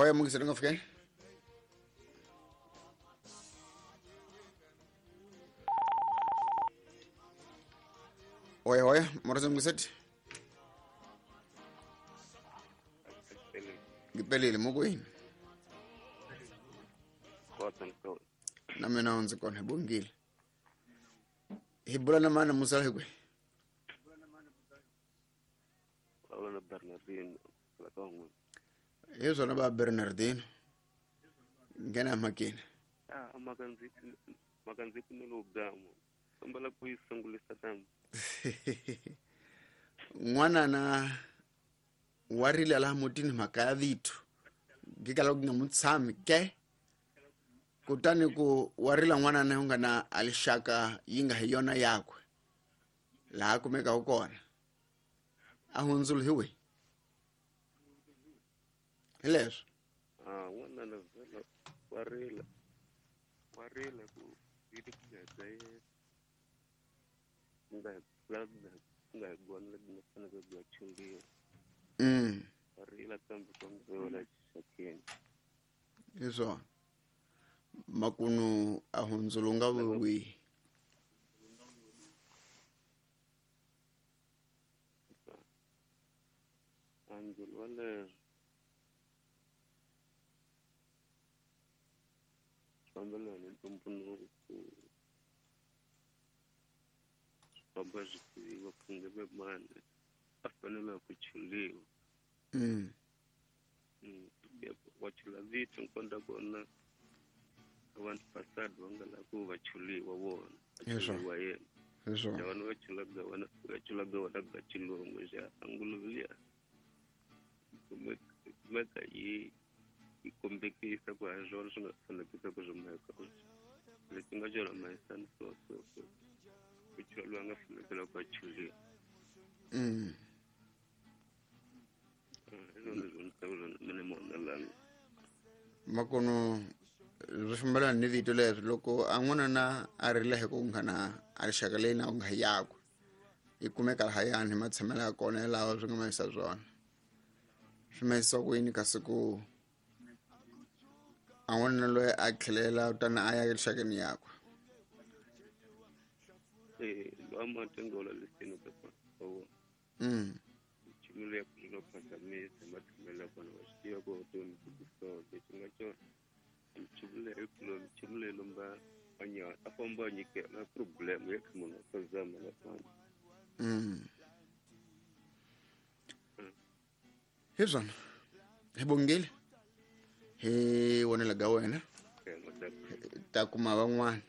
Hoya mungiseri nga fikeni. Hoya hoya morosa mungiseti. Ngipelile mukwini. Na mina ndzi kona hi bongile. Hi bula na mana musala hi kwihi? Hi swona va Bernardino. Nghena emakeni. Mhaka ndzi pfumela u gama. Kombela ku yi sungulisa kambe. N'wanana wa rila laha mutini mhaka ya vito. Ngikala ku nga mu tshami ke. Kutani ku wa rila n'wanana u nga na alixaka yi nga hi yona yakwe. Laha kumekaku kona. A hundzulu hi wihi? Hi leswo. N'wanana vhela wa rila. Wa rila ku yi ti ku nga nga hi gona leti nga fanele ku ya chungiwa. Wa rila kambe kombela xakeni. Hi swona. Makunu a hundzulu nga wihi? Andzulu wa le fambelana ni ntumbuluko ku famba swi tiviwa ku nge ve mani a fanele ku chuliwa. Wa chula vito nkonda kona vanhu fasadi va nga lavi ku va chuliwa vona. Va chuliwa yena. Vana va chulaga vona va chulaga vona ga chilungu xa anguluve liya kumeka yi kombekisa ku ha swona swi nga fanekisa ku swi mhaka lexi nga xona mahisani so so so ku chula loyi a nga fanekela ku a chuliwa. Hi swona leswi ndzi tivaka swona mina mona lani. Makono swi fambelana ni vito leswi loko a n'wanuna a rila hi ku nga na a rixaka leyi na ku nga yakwe yi kumeka lahayani hi matshamelo ya kona yalawa swi nga mahisa swona swi mahisa ku yini kasi ku a n'wanuna loyi a tlhelela kutani a ya rixakeni yakwe. Lowa matengola lesini ka kona. Nchumu leyi ku nga phazamisa matshamelo ya kona wa swi tiva ku vutomi byi so lexi nga xona nchumu leyi nchumu leyi lomba a famba a nyikela problem ya kha munhu a phazama na famba. Hi swona hi bongile hi vonela ga wena ta kuma van'wana.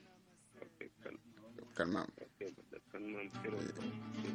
Kan mama.